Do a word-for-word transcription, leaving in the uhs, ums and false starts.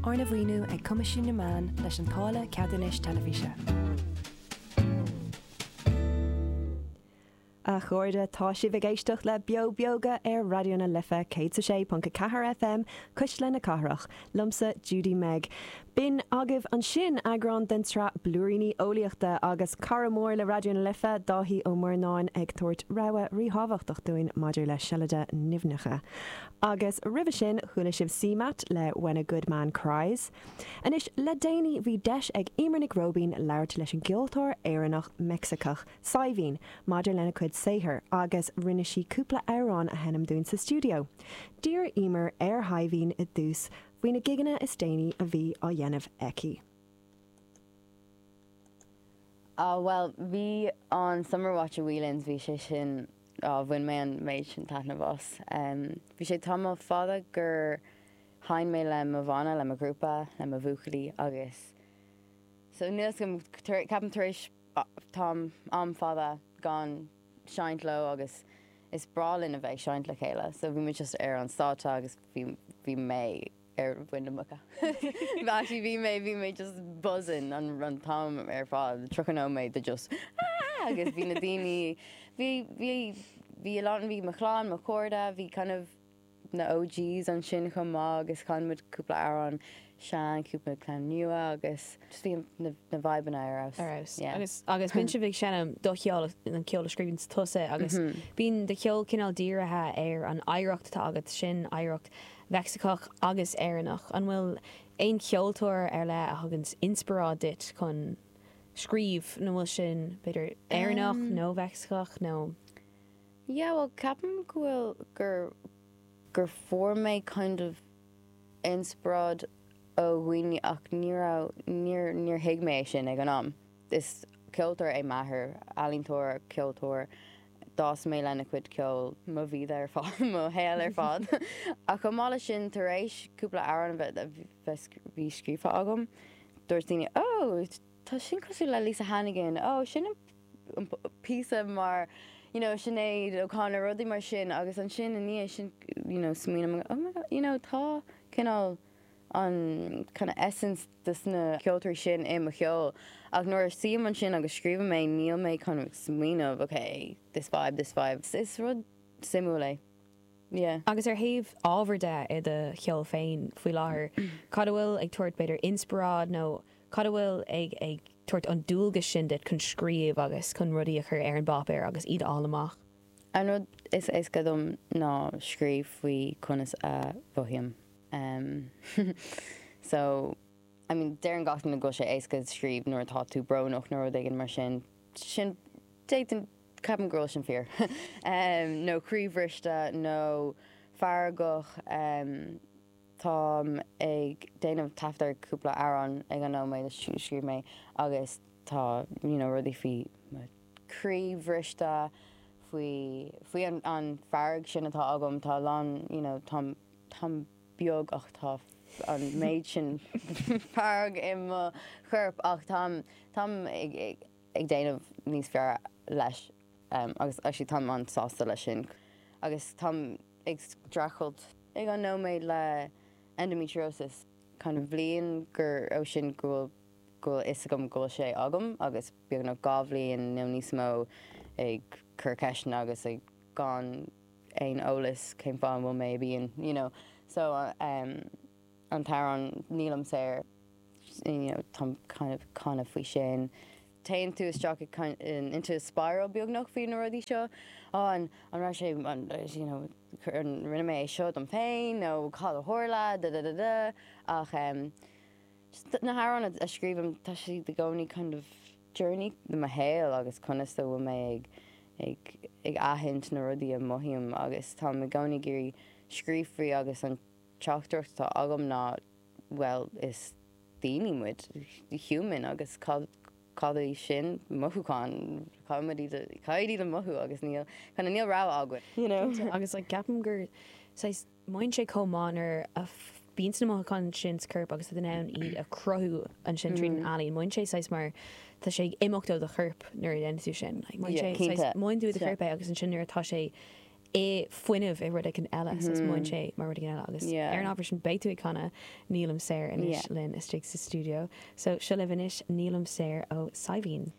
Arna mhaoiniú ag Coimisiún na Meán leis an táille ceadúnais teilifíse. A chairde tá sibh ag éisteacht le Beo Beoga ar Raidió na Life céad sé ponc a ceathair FM Cuisle na Cathrach, liomsa Judy Meg. B'in agaibh ansin eagrán den tsraith Blúiríní Eolaíochta agus cara mór le Raidió na Life Dáithí Ó Murnáin ag tabhairt rabhadh ríthábhachtach dúinn maidir le seilide nimhneacha. Agus roimhe sin chuala sibh CMAT le When a Good Man Cries. Anois le déanaí bhí deis ag Eimear Nic Róibín labhairt leis an gceoltóir Éireannach Meicsicach Saidhbhín maidir lena cuid saothair agus rinne sí cúpla amhrán a sheinm dúinn sa stiúideo. D'iarr Eimear ar Shaidhbhín i dtús faoi na gigeanna is déanaí a bhí á dhéanamh aici. Ah well bhí an Summer Watch i Whelan's bhí sé sin á bhain mé an méid sin taitneamh as. Um, bhí sé tamall fada gur sheinn mé le mo bhanna le mo ghrúpa le mo bhuachaillí agus so níl ceapaim tar éis tá am fada gan seinnt leo agus is breá linn a bheith seinnt le chéile, so bhí muid just ar an stáitse agus bhí bhí mé ar mhuin na muice. Actually bhí mé bhí mé just buzzing an an t-am ar fad tríocha nóiméad de just ah! agus bhí na daoine bhí bhí bhí a lán bhí mo chlann mo chairde bhí kind of na OGs ansin chomh maith agus chan muid cúpla amhrán sean cúpla ceann nua agus just bhí na na vibeanna ar fheabhas. Ar fheabhas. Yeah. Agus agus bíonn sibh ag seinm do cheol an ceol a scríobhann tusa agus mm -hmm. bíonn do cheol cineál dírithe ar an oidhreacht atá agat sin oidhreacht Mheicsiceach agus Éireannach. An bhfuil aon cheoltóir ar leith a thugann inspioráid duit chun scríobh nó bhfuil sin b'fhéidir Éireannach um, nó Mheicsiceach nó Yeah, well ceapaim go bhfuil gur gur fuair mé kind of inspioráid ó dhaoine ach ní raibh níor níor thuig mé é sin ag an am. Is ceoltóir é m'athair, ealaíontóir, ceoltóir, d'fhás mé lena chuid ceoil mo bhíde ar fad mo shaol ar fad. Ach chomh maith leis sin tar éis cúpla amhrán a bheith bhí scríofa agam, dúirt daoine ó tá sin cosúil le Lisa Hannigan, ó sin an píosa mar you know, Sinéad O'Connor rudaí mar sin agus ansin i ndiaidh sin you know, smaoiním oh my God, you know, tá cineál an kind of essence des na ceoltóirí sin i mo cheol. Ach nuair a suím ansin agus scríobhaim mé níl mé kind of smaoineamh, okay, this vibe, this vibe. Is rud suimiúil é. Yeah. Agus ar thaobh ábhar de i do cheol féin faoi láthair, cad a bhfuil ag tabhairt b'fhéidir inspioráid nó cad a bhfuil ag ag tabhairt an dúlgas sin duit chun scríobh agus chun rudaí a chur ar an bpáipéar agus iad á amach. An rud is éasca dom ná scríobh faoi conas a mhothaím. Um, so I mean deireann gach duine go bhfuil sé éasca scríobh nuair atá tú brónach nó rud éigin mar sin sin déan ceapaim go bhfuil sin fíor. um, nó croíbhriste nó feargach um, Táim ag déanamh taifead ar cúpla amhrán ag an nóiméad a scríobh mé agus tá you know, rudaí faoi mo chroí bhriste faoi faoi an, an fearg sin atá agam tá lán you know, táim táim beag ach tá an méid sin fearg i mo chorp ach táim táim ag, ag, ag déanamh níos fearr leis um, agus actually táim an-sásta leis sin agus táim ag streachailt ag an nóiméad le endometriosis kind of bliain gur ó sin go bhfuil go bhfuil fhios agam go bhfuil sé agam agus beagnach dhá bhliain nó níos mó ag cur ceisteanna agus ag gan aon eolas cén fáth an bhfuil mé bíonn you know so um, an t-amhrán nílim saor you know tá kind of kind of faoi sin téann tú isteach i kind in, into a spiral beagnach faoi na rudaí seo oh, an an raibh sé an you know an rinne mé é seo dom féin nó cad a tharla da da da da ach um, just na hamhráin a scríobhaim tá siad i gcónaí kind of journey de mo shaol agus conas a bhfuil mé ag ag ag aithint na rudaí a mothaím agus tá i gcónaí ag iarraidh scríobh faoi agus an teachtaireacht atá agam ná well is daoine muid human agus cad cad é sin mothúchán caithfidh iad caithfidh iad a mothú agus níl kind of níl rogha againn you know Agus like, ceapaim gur saghas mothaíonn sé chomh maith nuair a bíonn na mothúcháin sin sa chorp agus in ann iad a chruthú ansin tríd an ealaín. Mothaíonn sé saghas mar tá sé ag imeacht ó do chorp nuair a dhéanann tú sin. Like, mothaíonn Yeah, sé cinnte. mothaíonn tú do Yeah. chorp é agus ansin nuair atá sé i fuinneamh i rud éigin eile so is múin sé mar rud éigin eile agus Yeah. ar an ábhar sin beidh tú ag canadh Nílim Saor anois Yeah. linn istigh sa studio. So seo libh anois Nílim Saor ó Saidhbhín.